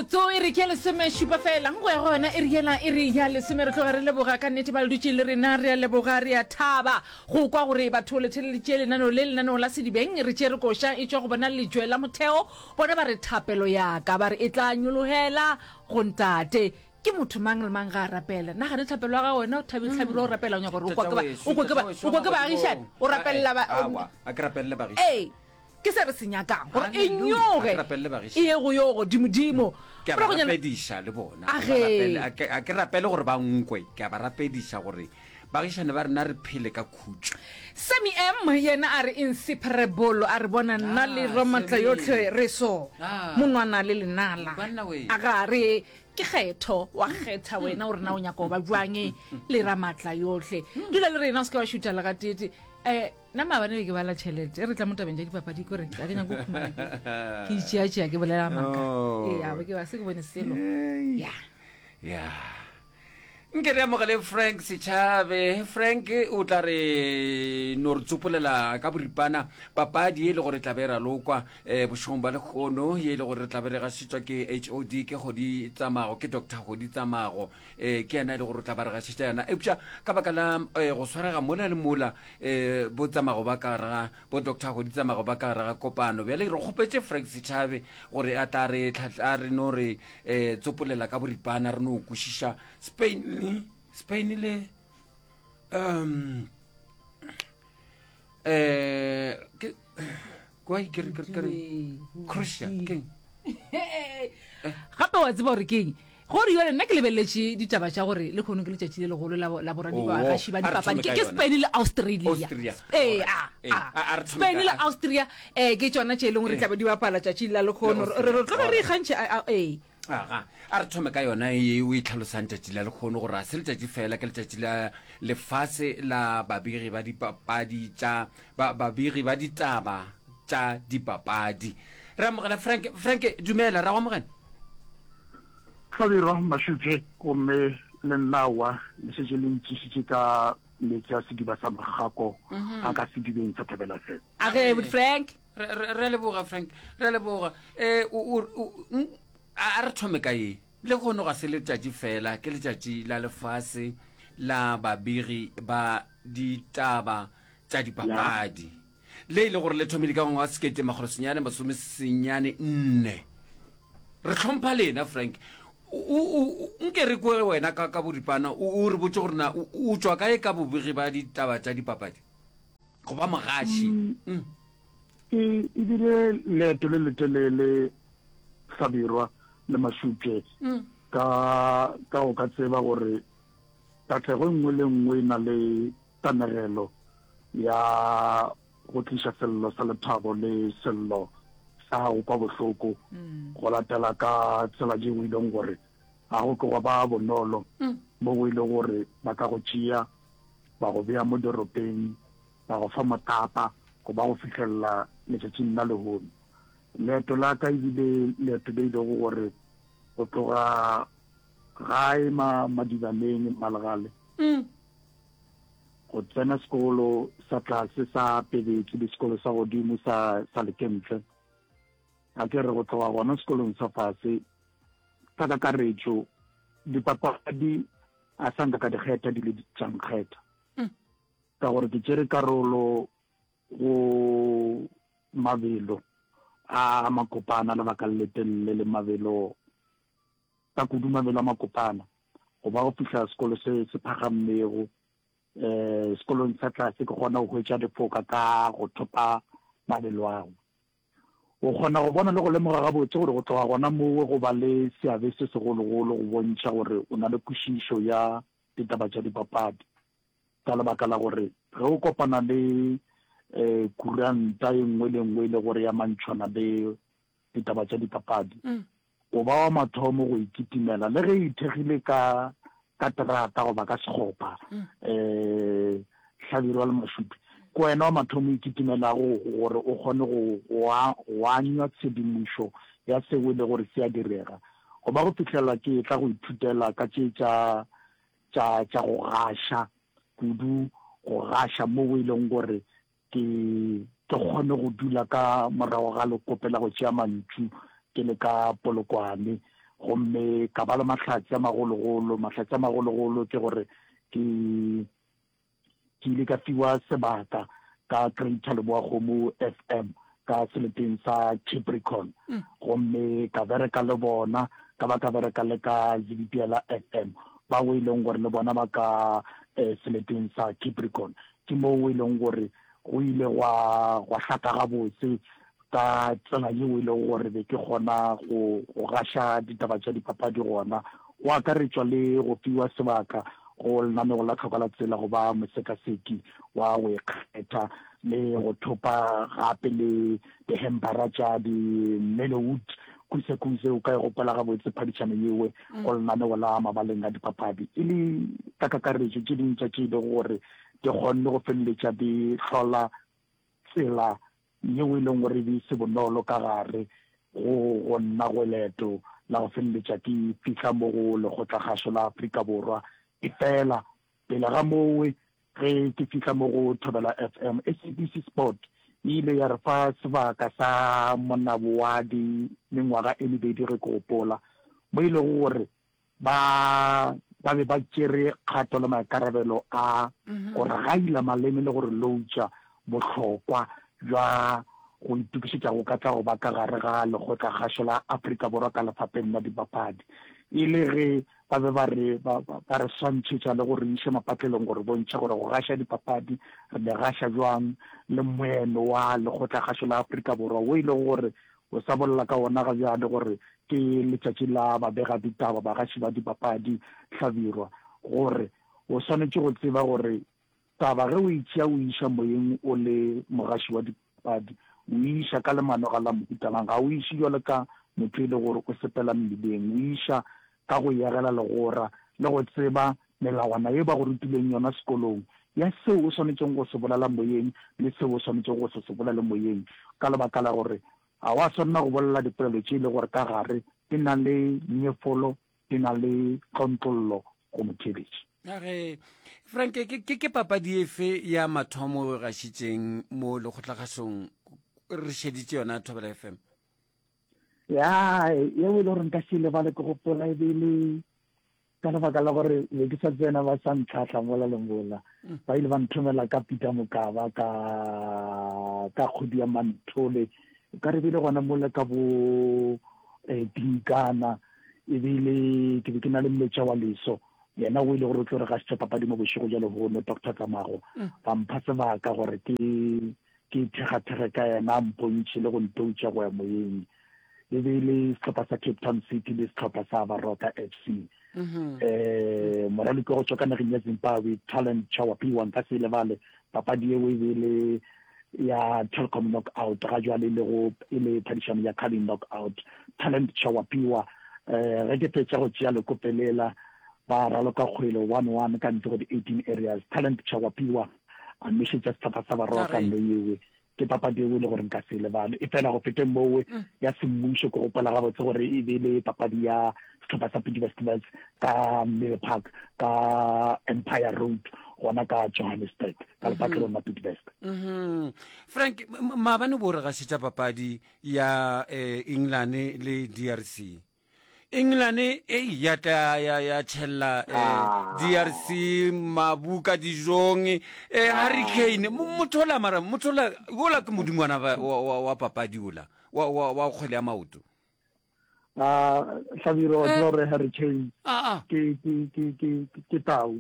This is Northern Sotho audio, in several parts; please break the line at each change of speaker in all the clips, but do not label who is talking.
Metsotso e re ke ya lesomešupa fela go ya go yona e re yela e re ya lesome. Re tloga re leboga ka nnete ba le dutše le rena. Re a leboga, re a thaba go kwa gore batho le theleditše lenaneo le, lenaneo la Sedibeng. Re tšere koša e tšwa go bona Lejwe la Motheo. Bona ba re thapelo ya ka, ba re e tla nyologela go Ntate. Ke motho mang le mang ga a rapela. Nagane thapelo ya gago wena o thabile hlabirwa o rapela o nyaka gore o kwa ke ba o kwe ke ba o kwe ke baagišani o rapelela ba
Awa, a ke rapelele baagišani.
Ee, ke se re se nyakang gore e
Hallelujah.
nyoge
A ke rapelele baagišani.
e ye go yo godimodimo.
Ke a ba
Moragonyana-
rapediša le bona.
A
Ke ba
ge.
rapele- a ke- a ke rapele gore ba nkwe. Ke a ba rapediša gore baagišani ba rena re phele ka khutšo.
Sammy M yena a re inseparable a re bona nna le
Ah,
Ramatla
Sammy.
yohle re so
Ah.
monwana le lenala.
Banna we.
A ga re Ke kgetho, wa kgetha wena gore na o nyaka go ba bjang le Ramatla yohle. Dula le rena o se ke wa šutha le gateete. Um nna maabane be ke bala tšhelete, e re tla mo tabeng tša dipapadi kore ga ke nyake go khumana ke ke itšeatšea ke bolela maaka.
Oh.
Ee, a be ke ba se ke bone selo. Ya.
Ya. Nke re amogele Frank Setšhabe. Frank o tla re no re tsopolela ka boripana papadi e le gore tla be ralokwa um bošegong ba lekgono ye e le gore re tla be re gašetšwa ke HOD ke Kgodi Tsamago ke Doctor Kgodi Tsamago um ke yena e le gore o tla ba re gašetša yona eupša ka baka la um go swarega mola le mola um bo Tsamago ba ka gare ga bo Doctor Kgodi Tsamago ba ka gare ga kopano bjale re kgopetše Frank Setšhabe gore a tla re a re no re um tsopolela ka boripana re no kwešiša Spain le Spain le um eh ke kwa ke re ke re Croatia ke
gape wa tseba gore keng gore yone nna ke lebeleletše ditaba tša gore le kgono ke letšatši le legolo la boradibagaši ba dipapadi ke Spain le Australia ee Spain le Austria um ke tšona tše e leng gore tlabe di bapala tšatši la lekgono re tloge re ikgantšhe ee
Aga, a re thome ka yona ye o e tlhalosang tšatši la lekgono gore a se letšatši fela, ke letšatši la lefase la babegi ba dipapadi tša ba, babegi ba ditaba tša dipapadi. Re amogela Frank. Frank, dumela, ra go amogela.
Hlabirwa, Mašupje, gomme le nna aowa, le šetše le ntšišitše ka meetse a sediba sa Makgako a ka sedibeng sa Thobela FM.
Age, Frank.
Re, re, re a leboga, Frank. Re a leboga. Eh, o, o, o, mm, a a re thome ka ye. Lehono ga se letšatši fela, ke letšatši la lefase la babegi ba ditaba tša dipapadi. Le e le gore le thomile ka ngwaga wa 1994. Re hlompha lena, Frank. O, o, o, nke re kwe wena ka, ka boripana, o, o re botše gore na o, o tšwa kae ka bobegi ba ditaba tša dipapadi? Go ba mogaši. Mm.
E, e bile leeto le letelele Hlabirwa le Mašupje mm. ka ka go ka tseba gore katlego e nngwe le nngwe e na le kanegelo ya go tliša sello sa lethabo le sello sa go kwa bohloko mm. go latela ka tsela tšeo e leng gore ga go ke gwa ba bonolo mm. mo go ile gore ba ka go tšea ba go bea mo doropeng, ba go fa motapa go ba go fihlelela letšatšing la lehono. Leeto la ka e bile leeto le ilego gore go tloga gae ma Madibaneng, Mmalegale, go tsena sekolo sa tlase sa Pebetsi le sekolo sa godimo sa sa Lekentle. A ke re go tloga gona sekolong sa fase ka kakaretšo dipapadi A sa nka ka di kgetha di le tša nkgetha. Ka gore ke tšere karolo go mabelo a makopana lebaka le letelele le mabelo ka kudu mabelo a makopana go ba go fihla sekolo se se phagammego um sekolong sa tlase ke kgona go hwetša difoka ka go thopa mabelo ao. O kgona go bona le go lemoga gabotse gore go tloga gona moo go ba le seabe se segologolo go bontšha gore o na le kwešišo ya ditaba tša dipapadi ka lebaka la gore ge o kopana le kuranta e nngwe le nngwe e le gore ya mantšhwana le ditaba tša dipapadi, O ba wa mathomo go e kitimela, le ge e ithekgile ka, ka terata goba ka sekgopa, um Hlabirwa le Mašupi. Ke wena wa mathomo o e kitimelago gore o kgone go, go, go anywa tshedimošo ya seo e le gore se a direga. Go ba go fihlela ke etla go ithutela ka tše tša, tša, tša go gaša, kudu go gaša moo e leng gore Ke, ke kgone go dula ka morago ga lekope la go tšea mantšu ke le ka Polokwane. Gomme ka ba le mahlatse a magologolo. Mahlatse a magologolo ke gore ke ke ile ka fiwa sebaka ka Greater Leboakgomo FM ka seleteng sa Capricorn. Gomme ka bereka le bona, ka ba ka bereka le ka Zibipiela FM, bao e leng gore le bona ba ka seleteng sa Capricorn. Ke moo e leng gore go ile gwa, gwa hlaka gabotse ka tsela yeo e lego gore be ke kgona go, go gaša ditaba tša dipapadi gona, go akaretšwa le go fiwa sebaka go lenaneo la Tlhoko la Tsela go ba mosekaseki wa go ikgetha le go thopa gape le dihempara tša di-Mellowood Kuse-kuse. O ka e gopola gabotse phadišano yewe go lenaneo la mabaleng a dipapadi e le ka kakaretšo tše dingwe tša tše e lego gore di kgonne go feleletša di hlola tsela yeo e leng gore e be e se bonolo ka gare go go nna go leeto la go feleletša ke fihla mo go Lekgotlakgašo la Afrika Borwa. Efela pele ga mowe ge ke fihla mo go Thobela FM, SABC Sport e ile ya re fa sebaka sa monabo wa di mengwaga e mebedi ge ke gopola, mo e lego gore Ba ba be ba tšere kgato le maikarabelo a go re gaila maleme le go re loutša bohlokwa bja go itokišetša go ka tla go ba ka gare ga Lekgotlakgašo la Afrika Borwa ka lefapeng la dipapadi. E le ge ba be ba re ba ba re swantšhetša le go re iša mapatlelong go re bontšha gore go gaša dipapadi re di gaša bjang le moeno wa Lekgotlakgašo la Afrika Borwa wo e lego gore O sa bolela ka wona ga bjale gore ke letšatši la babegaditaba, bagaši ba dipapadi, Hlabirwa, gore o swanetše go tseba gore taba ge o e tšea o e iša moyeng o le mogaši wa dipapadi, o e iša ka lemanoga la mohuta mang. Ga o e iše bjalo ka motho e le gore o sepela mmileng, o e iša ka go yegela legora le go tseba melawana ye ba go rutileng yona sekolong ya seo o swanetšego go se bolela moyeng le seo o swanetšego go se se bolele moyeng, ka lebaka la gore ga wa swanela go bolela dipolelo tše e le gore ka gare di na le nyefolo, di na le tlontlollo go motheeletši.
A re, Frank, ke, ke, ke papadi efe ya mathomo o e gašitšeng mo lekgotlakgašong re šeditše yona Thobela FM?
Ya, yeo e le gore nka se e lebale ke gopola e be e le Ka lebaka la gore be ke sa tsena ba sa ntlhahla mola le mola, ba ile ba nthomela ka Peter Mokaba ka ka kgwedi ya Manthole, o ka re bile gona mola ka bo eh, Dinkana, ebile ke be ke na le Mmetša wa Leso, yena o ile gore o tlo re gašetša papadi mo bošego bja lehono, Doctor Tsamago, ba mpha sebaka gore ke ke ithekgathekge ka yena a mpontšhe le go ntoutša go ya moyeng. E be e le sehlopha sa Cape Town City le sehlopha sa Baroka FC. Um moraloki wa go tšwa ka nageng ya Zimbabwe, Talent Chawapiwa, nka se e lebale papadi yeo, e be e le ya Telkom Knockout, ga jwale e lego e le phadišano ya Carling Knockout. Talent Chawapiwa, um ge ke fetša go tšea lekope lela, ba raloka kgwele 1-1 ka ntle go di-18 areas. Talent Chawapiwa a nošetša sehlopha sa Baroka nno yewe. Ke papadi yeo e le gore nka se e lebale. Efela go feteng mowe ya semmušo, ke gopola gabotse gore e be e le papadi ya sehlopha sa Bidvest Wits ka Mill Park ka Empire Road gona ka Johannesburg ka lepatlelong la Bidvest.
Frank, maabane bo re gašetša papadi ya England le DRC. England e ya tla ya ya tšhella eh, DRC mabu ka dijong eh, Harry Kane motho ola mara motho ola ola ke modingwana wa, wa, wa, wa papadi ola wa, wa, wa kgwele ya maoto.
A Hlabirwa wa tseba gore Harry Kane ke ke ke ke ke tau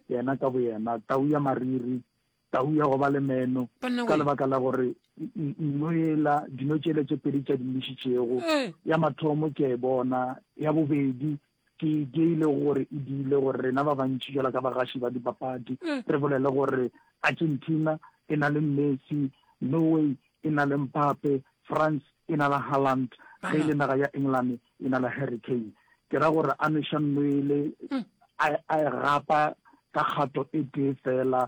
yena ka boyena tau ya mariri Tau ya go ba le meno, ka lebaka la gore nno yela, dino tšela tše pedi tša di nošitšego, ya mathomo ke a e bona, ya bobedi ke ke e lego gore e diile gore rena ba bantši bjalo ka bagaši ba dipapadi re bolele gore Argentina e na le Messi, Norway e na le Mbappe, France e na le Haaland, ge e le naga ya England e na le Harry Kane. Ke ra gore a nweša nwele, a a e gapa ka kgato e tee feela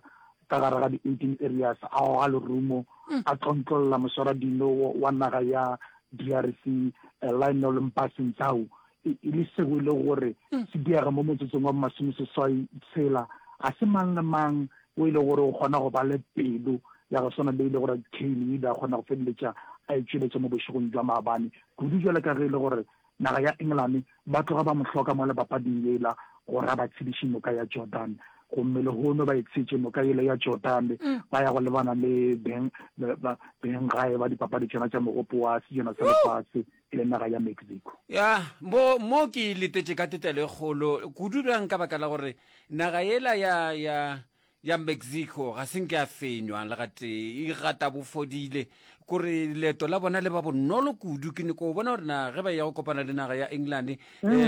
ka gare ga di-18 areas, a goga lerumo, a tlontlolla moswaradino wa naga ya DRC, Lionel Mpasi Ntsau, e le seo e lego gore se diega mo motsotsong wa bomasomeseswai tshela. Ga se mang le mang o e lego gore o kgona go ba le pelo ya go swana le e le gore Kane o ile a kgona go feleletša a e tšweletša mo bošegong bja maabane, kudu bjalo ka ge e le gore. Naga ya Engelane ba tloga ba mo hloka mo le papading yela gore a ba tshediše noka ya Jordan. Gomme lehono ba e tshetše noka yela ya Jordan, ba ya go lebana le beng, ba, benggae ba dipapadi tšona tša Mogopo wa Sejana sa Lefase, e le naga ya Mexico.
Ya, mo, mo ke e letetše ka tetelo e kgolo kudu bjang ka baka la gore naga yela ya, ya, ya Mexico ga se nke ya fenywa le gatee, e gata bofodile. Kore leeto la bona le ba bonolo kudu. Ke nyako bona gore na ge ba ya go kopana le naga ya England, eh,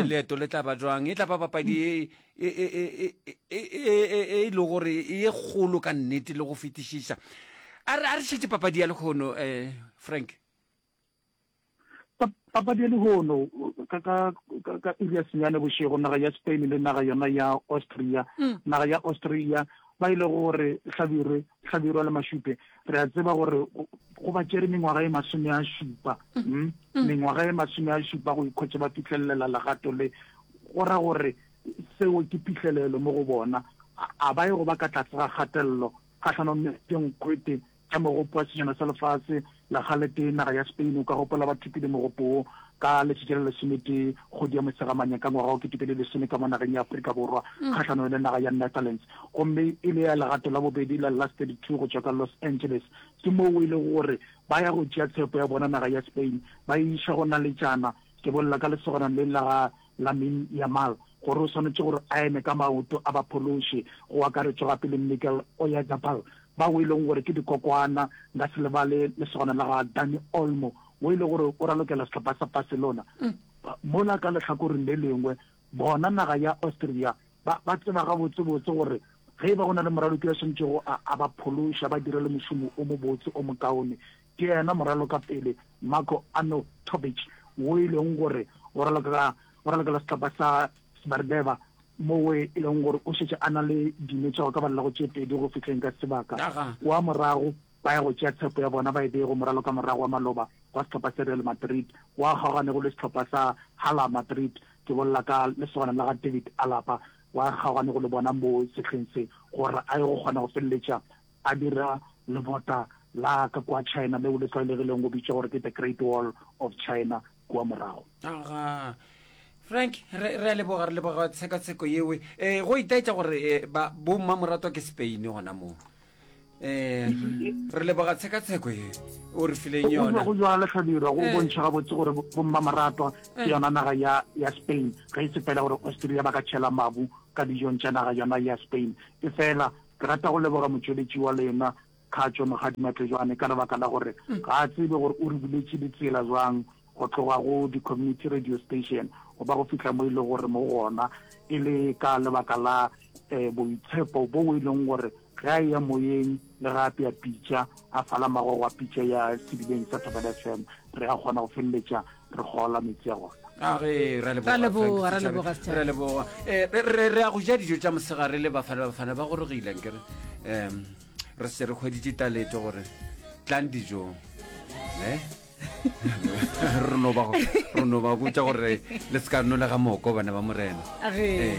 leeto le tla ba jwang. E tla ba papadi e, e, e, e, e, e, e, e, e le gore e kgolo ka nnete le go fetišiša. A re, a re šetše papadi ya lehono, eh, Frank.
Papadi ya lehono ka ka ka iri ya senyane bošego naga ya Spain le naga yona ya Austria mm. naga ya Austria ba ile gore hlabirwe hlabirwa le mašupe re a tseba gore go ba tšere mengwaga e masome a šupa mm. mm? mm. mengwaga e masome a šupa go ikhwetša ba fihlelela legato le go ra gore seo ke phihlelelo mo go bona a ba ye go ba ka tlase ga kgatelelo kgahlanong le dinkgwete tša Mogopo wa Sejana sa Lefase la kgaletee, naga ya Spain, o ka gopola ba thopile mogopo wo ka letšatši la lesometee kgwedi ya Mosegamanya ka ngwaga wa 2010 ka mo nageng ya Afrika Borwa kgahlanong le naga ya Netherlands gomme e le ya legato la bobedi la Last 32 go tšwa ka Los Angeles. Ke moo e lego gore ba ya go tšea tshepo ya bona naga ya Spain ba e iša go naletšana, ke bolela ka lesogana le la ga Lamine Yamal gore o swanetše gore a eme ka maoto a ba phološe, go akaretšwa gape le Mikel Oyarzabal bao e leng gore ke dikokwana, nka se lebale lesogana la ga Dani Olmo wo e le gore o ralokela sehlopha sa Barcelona. Mola ka lehlakoreng le lengwe bona naga ya Austria ba, ba tseba gabotsebotse gore ge e ba go na le moraloki yo a swanetšego a, a ba phološa, ba dire le mošomo o mobotse o mokaone, ke yena moralokapele Marko Arnautovic wo e leng gore o raloka, o ralokela sehlopha sa Smrdeva moo e leng gore o šetše a na le dino tša go ka balela go tše pedi go fihleng ka sebaka. Wa morago ba ya go tšea tshepo ya bona ba e bee go moralokamorago wa maloba wa sehlopha sa Real Madrid wa kgaoganego le sehlopha sa Hala Madrid, ke bolela ka lesogana la ga David Alaba wa kgaoganego le bona mo sehleng se gore a ye go kgona go feleletša a dira lebota la ka kua China leo le tlwaelegileng go bitšwa gore ke The Great Wall of China kua morago.
Aga. Frank, re, re a leboga, re leboga tshekatsheko yewe. Eh, go itaetša gore eh, ba bommamoratwa ke Spain gona moo. Eh, re leboga tshekatsheko ye o re fileng yona.
Go jwalo Hlabirwa, go eh. bontšha gabotse gore bommamoratwa ke eh. yona naga ya, ya Spain. Ge e se fela gore Austria ba ka tšhela mabu ka dijong tša naga yona ya Spain. E fela Ke rata go leboga motšweletši wa lena, Kgatšo Mokgadi Matlejwane, ka lebaka la gore ga a tsebe gore o re buletše ditsela jwang go tloga go di-community radio station go ba go fihla mo e lego gore mo gona e le ka lebaka la um boitshepo bo e leng gore ge a eya moyeng le ge a apea pitša a fala magogo a pitša ya sedibeng sa Thobela FM re a kgona go feleletša re gola metsi a gona.
A ge ra
Ra leboga, ra leboga, Setšhaba.
Ra leboga. Eh, re re re ya go ja dijo tša mosegare le bafana bafana ba gorogile nkere. Em re se re hweditše taletšo gore tlang dijong. Ne? Re no ba re no ba botša gore le se ka nolega moko bana ba morena.
A ge.
Eh.